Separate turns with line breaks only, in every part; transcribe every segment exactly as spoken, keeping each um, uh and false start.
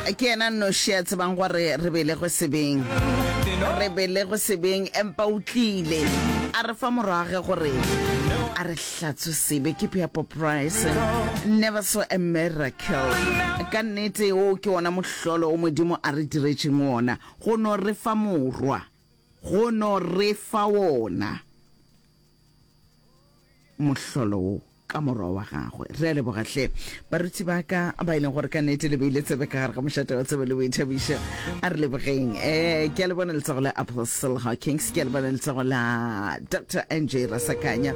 Ke yena nnoši a tsebang gore re belegwe sebeng. Re belegwe sebeng, empa o tlile a re fa morwage gore a re hlatswe sebe. Ke Piapo Price. Never saw a miracle. Ka nnete o ke wona mohlolo o Modimo a re diretšeng wona. Go no re fa morwa. Go no re fa wona mohlolo wo ka morwa wa gagwe. Re a leboga hle baruti ba ka ba e leng gore ka nnete le beile tsebe ka gare ga mošate wa tsebe le boithabišo. A re lebogeng. Um ke a le bona letsogo la Apostle Hawkins, ke a le bona letsogo la Doctor N J Rasakanya.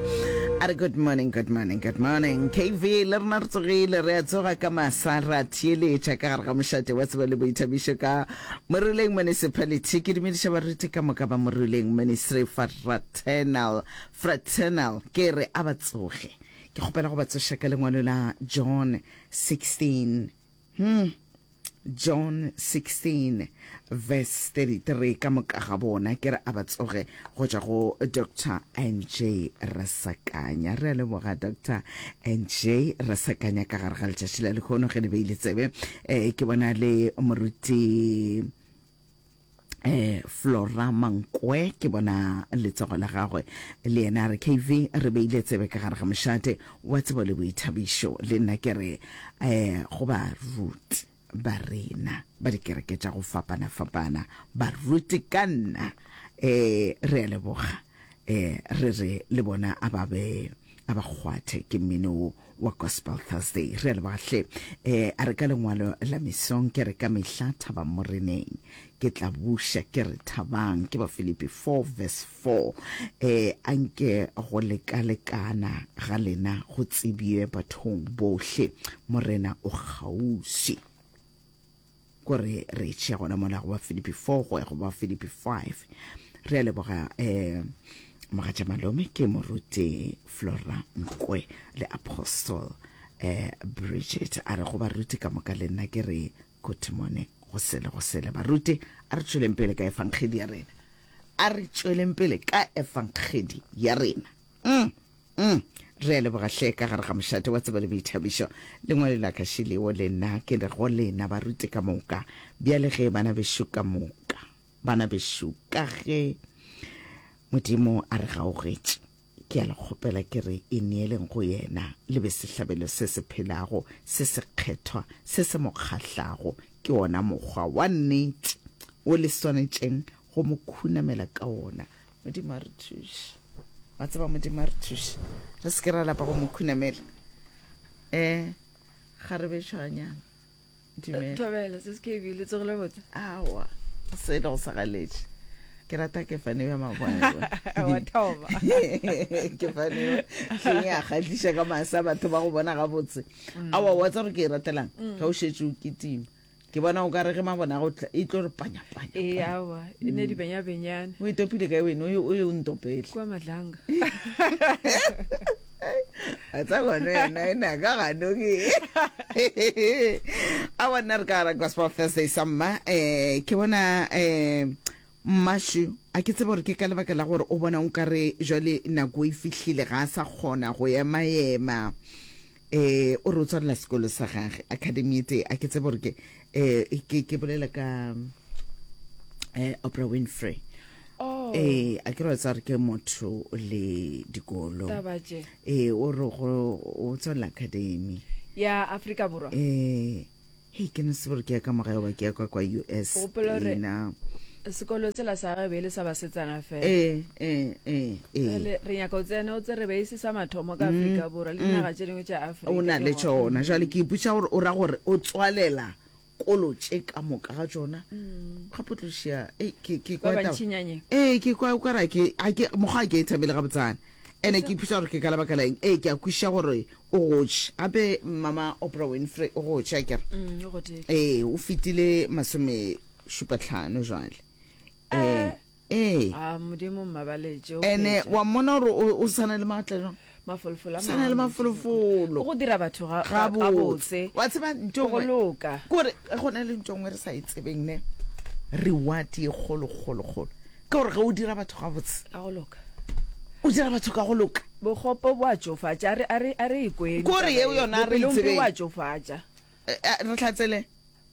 A re good morning, good morning, good morning. K V le rena re tsogile, re a tsoga ka masa, ra theeletša ka gare ga mošate wa tsebe le boithabišo ka Moruleng Municipality. Ke dumediša baruti ka moka ba Moruleng Ministry Fraternal, Fraternal, ke re a ba tsoge. Ke kgopela go ba tsoša ka lengwalo la John sixteen. Hmm. John sixteen verse thirty-three, ka moka ga bona ke re a ba tsoge go tšwa go Doctor N J Rasakanya. Re a leboga Doctor N J Rasakanya ka gare ga letšatši la lehono ge le beile tsebe. Eh, ke bona le moruti eh Flora Mankwe, ke bona letsogo la gagwe le yena a re K V re beile tsebe ka gare ga mošate wa tsebo le boithabišo. Le nna ke re eh go baruti ba rena ba dikereke tša go fapana-fapana, baruti ka nna eh re a leboga, eh re re le bona a ba be a ba kgwathe ke mmino wo wa Gospel Thursday. Re a leboga hle. Eh a re ka lengwalo la mesong ke re ka mehla thabang moreneng, ke tla buša ke re thabang, ke ba Filipi four verse four. Eh anke go lekalekana ga lena go tsebje bathong bohle, morena o kgauswi. Kore re tšea gona mola go ba Filipi four go ya go ba Filipi five. Re a leboga eh mogatša malome ke moruti Flora Nkwe le Apostle eh Bridget. A re go baruti ka moka le nna ke re good morning, go sele go sele baruti. A re tšweleng pele ka efangedi ya rena, a re tšweleng pele ka efangedi ya rena. Mm, mm. Re a leboga hle ka gare ga mošate wa tsebo le boithabišo. Lengwalo la ka šileo le nna ke re go lena baruti ka moka, bjale ge bana bešo ka moka, bana bešo ka ge Modimo a re gaogetše, ke a le kgopela ke re ineeleng go yena, le be sehlabelo se se phelago, se sekgethwa, se se mo kgahlago. Ke wona mokgwa wa nnete wo le swanetšeng go mo khunamela ka wona. Modimo a re thuše. Wa tseba Modimo a re thuše, re se ke ra lapa go mo khunamela. Eh, ga re be tšhwanyana. Dumela.
Thobela, se se K B, le tsogile botse?
Aowa, se le go sa galetše. Ke rata ke fane ya mabone.
Wa thoma.
Ke fane hleng ya kgahliša ka masa batho ba go bona gabotse. Aowa, wa tseba gore ke e ratelang? Ge o šetše o kitima. Ke bona o ka re ge mabone a go tla, e tlo re panya, panya,
Ee,
panya.
aowa, e ne di benya benyane.
O e topile kae wena? O ye, o ye o ntopele.
Kua Madlanga.
A tsa gone yena e na ka gano ke. Aowa, nna re ka gara Gospel Thursday sa mma. Eh, ke bona, eh, Mmašu, a ke tsebe gore ke ka lebaka la gore o bona o kare jwale nako e fihlile, ga a sa kgona go ema-ema. Eh, o re o tswalela sekolo sa gage, academy e tee. A ke tsebe gore ke, eh, ke, ke bolela ka, eh, Oprah Winfrey.
Oh.
Eh, a ke re wa tseba gore ke motho le dikolo.
Taba tše.
Eh, o re go, o tswalela academy.
Ya Afrika Borwa.
Eh, hei, ke no se gore ke ya ka mogae goba ke ya kwa kwa U S.
Gopola gore
Ena.
sekolo sela sa gage be e le sa basetsana fela.
Eh, eh, eh, eh.
Jwale re nyaka o tsene o tsere be e se sa mathomo ka Afrika Borwa le dinaga tše dingwe tša Afrika.
O na le
ke gona.
tšona. Jwale ke ipotša gore o ra gore o tswalela kolo tše ka moka ga tšona. Gape o tlo šia, ei, ke, ke
Ba
kwa taba.
bantšinyanye.
Ee, ke kwa o ka re ke, a ke, mokgwa a ke e thabele gabotsana. Ene ke ipotša gore ke ka lebaka la eng. Ee, ke a kwešiša gore o gotše. Gape mama Oprah Winfrey o gotše, akere?
Mm, o gotše.
Ee, o fetile masome šupa hlano jwale. Ee, ee.
A Modimo mmabaletše, o
Ene
phetše.
wa mmona gore o, o sana le maatla jwang?
Mafolofolo a
Sana le
mangwe.
mafolofolo.
O go dira batho ga, ga,
Gabotse.
gabotse.
Wa tseba ntho
Go
nngwe?
loka.
Kore go na le ntho nngwe re sa e tsebeng ne. Reward ye kgolo, kgolo, kgolo. Ke gore ge o dira batho gabotse.
Ka go loka.
O dira batho ka go loka.
Bokgopo bo a tšofatša, a re, a re, a re e kweng
Kore
taba
yeo
ye.
yona a re e
Bopelompe
tsebeng.
bo a tšofatša.
Eh, eh, re hlatsele.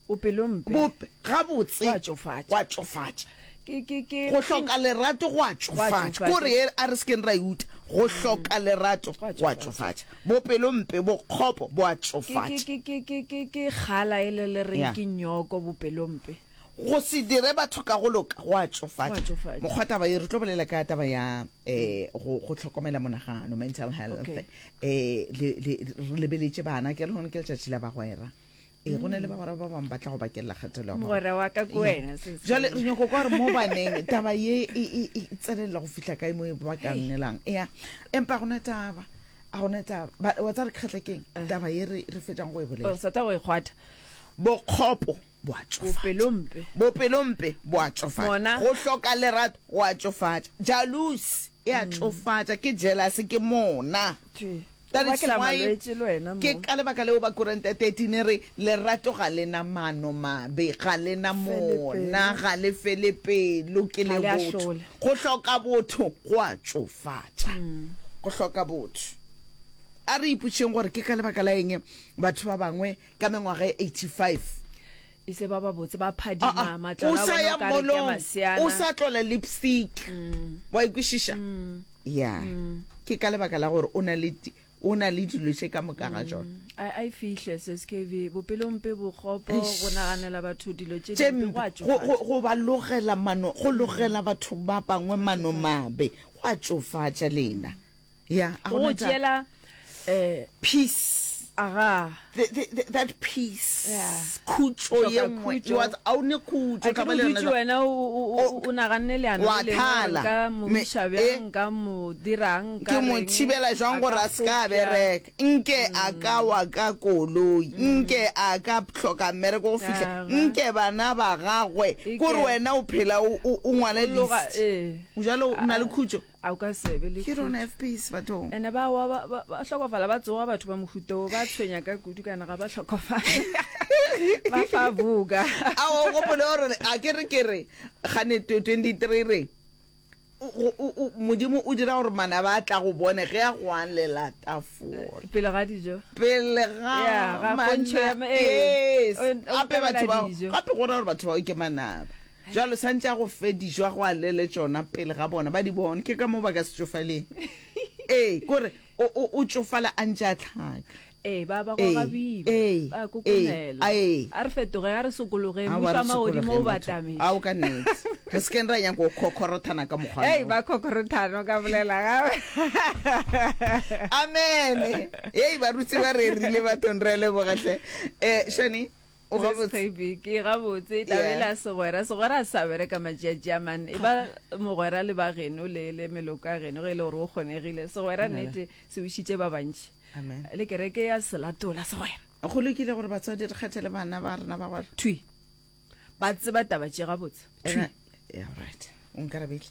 Bopelompe.
Bope, gabotse.
Go a tšofatša.
Go a tšofatša.
Ke, ke, ke.
Go hloka lerato go a tšofatša. Ko re ye, a re se keng ra e uta. Go hloka lerato go a tšofatša. Bopelompe, bokgopo bo a tšofatša.
Ke, ke, ke, ke, ke kgala e le le reng ke nyoko, bopelompe.
Go se dire batho ka go loka go a tšofatša. Mokgwa taba ye, re tlo bolela ka taba ya um go, go hlokomela monagano, mental health.
Okay.
Um le, le, re lebeletše bana, ke re lehono ke letšatši la bagwera. Ee, go na le bagwera ba bangwe ba tla go bakelela kgatelelo ya
Mogwera wa ka ke wena, se-
Jwale re nyako kwa gore mo baneng taba ye e, e, e tsenelela go fihla kae mo e ba ka nnelang. Ea, empa ga gona taba, ga gona taba. Ba, wa tseba re kgahla keng? Taba ye re, re fetšang go e bolela.
O sa tla go e kgwatha.
Bokgopo bo a tšofatša.
Bopelompe.
Bopelompe bo a tšofatša.
Mona.
Go hloka lerato go a tšofatša. Jealousy e a tšofatša, ke jealousy, ke mona.
Thwi.
That
O
is
bakela
why
malwetši le wena mo.
Ke ka lebaka leo Bakorinthe thirteen e re, Lerato ga le na mano mabe, ga le na
Fele
mona,
pelo.
ga le fele pelo, ke
Ga
le
le
botho.
ahlole.
Go hloka botho go a tšofatša. Go hloka botho. A re ipotšeng gore ke ka lebaka la eng batho ba bangwe ka mengwaga e eighty-five
E se ba babotse, ba
Ah,
phadima,
ah,
matlalo
o
a
sa
bona
ya
o ka re ke a
molong,
maseana.
o sa tlola lipstick. Wa e kwešiša? Ya. Ke ka lebaka la gore o na le di, o na le dilo tše ka moka ga tšona.
A, a e fihle, Sis K V. Bopelompe, bokgopo,
Eish.
go naganela batho dilo tše
Tše
dimpe, go a
mpe, go, go,
tšofatša.
go ba logela mano, go logela batho ba bangwe mano mabe, go a tšofatša lena. Ya, a
Go
gona
go
taba.
tšeela, eh,
Peace.
Aga.
The, the, the, that peace.
Yeah.
Khutšo ye
Hloka
nngwe.
khutšo.
You are, a o ne khutšo,
A ke
taba
re
le
o
yona
dutše
jwang?
wena o, o, o, o naganne leano
Wa
le lengwe gore
thala.
nka mo
Me,
iša
eh,
bjang, nka mo dirang, nka
Ke mo
reng,
thibela jwang
a
gore
ka
a se ka
kgopša.
bereka? Nke a ka wa ka koloi, nke a ka hloka mmereko go fihla,
Aga.
nke bana ba gagwe.
Eke.
Kore wena o phela o, o, o ngwala
O loga,
list.
eh.
Bjalo o na le khutšo?
A o ka se be le
You don't
khutšo.
have peace, bathong.
Ene ba wa ba, ba, ba hlokofala, ba tsoga batho ba mohuta wo, ba tshwenya ka kudu kana ga ba hlokofale. Ba fa buka.
A o gopole gore a ke re ke re gane twenty-three re o, o, o, Modimo o dira gore manaba a tla go bone ge a go alela tafola.
Pele ga dijo.
Pele ga
Ya, ga pontšho ya
mana-
ma-, ee.
Yes.
O, o
Gape batho
nkamela
bao,
dijo.
gape go ra gore batho bao ke manaba. Jwale santše a go fe dijo a go alele tšona pele ga bona ba di bone, ke ka mo ba ka se tšofaleng. Ee, kore o, o, o tšofala a ntše a tlhaka.
Ee, ba ba
Ee,
goga boima,
ee,
ba
ee,
kokomela.
a ee.
A re fetoge, a re sokologeng,
Aowa,
mmušo
re
wa magodimo o
sokologeng, batho.
batametše.
Ao, ka nnete. Re se keng ra nyaka go khokhorothana ka mokgwa
Ei,
wo.
ba khokhorothana, o ka bolela gape.
Amen. Ei, barutsi ba rerile bathong, re a leboga hle. Eh, Shani, o gabotse?
S K B, ke gabotse, taba
Yeah.
e la segwera, segwera a sa bereka matšatši a mane. E ba mogwera le ba geno le, le meloko ya geno ge e le gore o kgonegile. Segwera
Amen.
nnete se wišitše ba bantši.
Amen.
Le kereke ya selatola segwera.
Go lokile gore batswadi re kgethele bana ba rena ba gore
Thwi. Ba tseba taba tše gabotse. Thwi.
Ena, yeah, right. O nkarabile.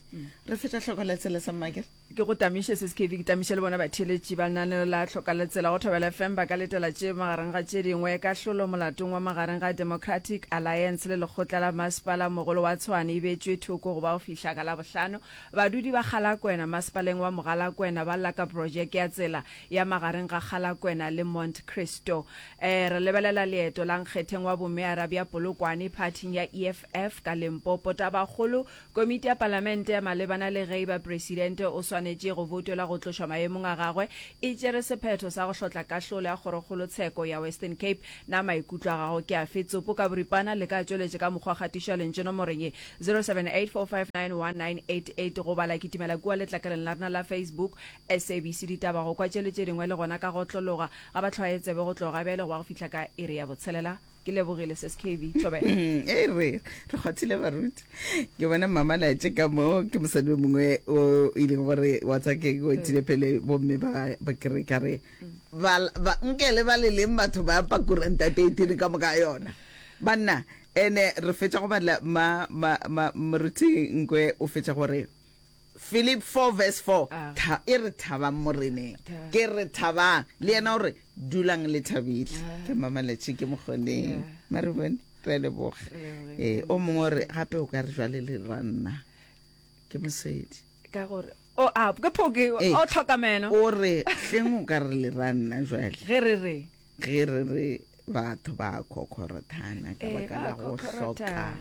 Re feta hloko la tsela sa mmakere.
Ke go tamiše S K V, ke tamiše le bona batheeletši ba lenaneo la Hloka la Tsela go Thobela F M ba ka letela tše magareng ga tše dingwe kahlolo molatong wa magareng ga Democratic Alliance le lekgotla la masepala mogolo wa Tshwane e beetšwe thoko go ba go fihla ka Labohlano. Badudi ba Galakwena masepaleng wa Mogalakwena ba lla ka projeke ya tsela ya magareng ga Galakwena le Monte Cristo. Eh, re lebelela leeto la nkgetheng wa bomeara bja Polokwane phathing ya E F F ka Limpopo. Tabakgolo, komiti ya palamente ya malebana le ge eba presidente o swanetše go votelwa go tlošwa maemong a gagwe e tšere sephetho sa go hlotla kahlolo ya kgorokgolo tsheko ya Western Cape. Na maikutlo a gago ke afe? Tsopo ka boripana le ka tšweletše ka mokgwa kgatišo ya lentšu nomorong ye zero seven eight four five nine one nine eight eight goba la kitimela kua letlakaleng la rena la Facebook S A B C Ditaba go kwa tše le tše dingwe le gona ka go otlologa ga ba hlwaye tsebe go tloga bjale go ba go fihla ka iri ya botshelela. Ke lebogile S K V Thobela.
Mm, e re re kgwathile baruti. Ke bona mama laetše ka mo ke mosadi o mongwe o e leng gore wa tsa ke o etile pele bomme ba ba kere ka re ba ba nke le ba le leng batho ba pakuranta te tiri ka moka yona. Banna ene re fetša go bala ma ma ma moruti Nkwe o fetša gore Philip four verse four,
Ah.
tha, e re thabang moreneng.
Tha.
Ke re thabang. Le yena o re dulang le thabile.
Ah.
Ke mama Letšhe ke mokgoneng.
Yeah.
Mare bone re a leboga.
Re leboge.
Eh, o mongwe o re gape o ka re jwale le ra nna. Ke mosedi.
Ka gore o a ke phoke
Eh.
o tlhokamelo.
O re hleng o ka re le ra nna jwale.
Ge re re.
Ge re re Batho ba khokhorothana ka
Eh,
baka
ba
la go hloka
khokhorothana.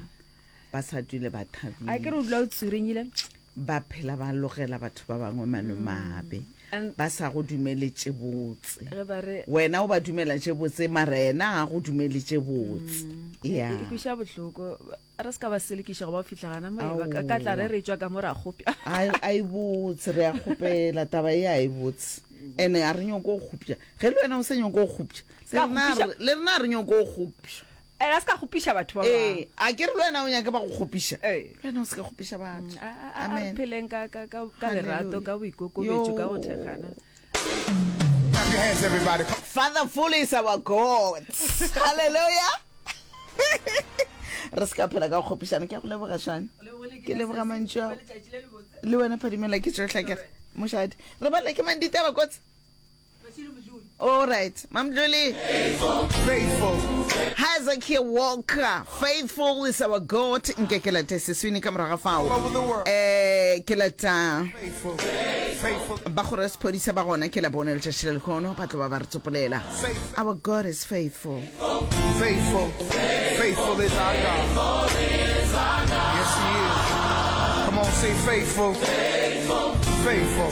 ba sa dule ba
A ke re
thabile
o dula o tswirenyile.
Ba phela ba logela batho ba bangwe manomabe.
And
Ba sa go dumele tše botse.
Ge ba re
Wena o ba dumela tše botse mara yena ga go dumele tše botse.
E
Ya.
e kweša bohloko. Re se ka ba selekiša go ba fihla gana mo e ba ka ka tla re
Aowa.
re tšwa ka mo ra kgopša.
A a e botse re a kgopela taba ye a e botse. Ene a re nyoko go kgopša. Ge le wena o sa nyoko go kgopša. Le
Ska
rena
kgopiša.
re- le rena a re nyoko go kgopša.
Ene a se ka kgopiša batho ba bangwe.
Ee, a ke re le wena o nyake ba go kgopiša.
Ee.
Le wena o se ka kgopiša batho.
A a- a re
Amen.
pheleng ka ka ka ka lerato,
Hallelujah.
ka boikokobetšo, ka go
Yo.
thekgana.
Clap your hands, everybody.
Fatherful is our God. Hallelujah. Re se ka phela ka go kgopišana. Ke a go leboga Shane. Ke leboga mantšu ao. Le wena Phadimela ke tšohle ke re. Mošadi. Re bala ke mang ditaba kotsi? All right. Mamdluli.
Faithful.
Hezekiah Walker, faithful is our God. Nke ke late seswini ka morago ga fao.
All over the world.
Eh, ke lata
Faithful. Faithful.
ba gore sephodisa ba gona ke la bone letšatši le lekgono ba tlo ba ba re tsopolela.
Faithful.
Our God is faithful.
Faithful. Faithful is our God. Yes, he is. Come on, say faithful. Faithful. Faithful.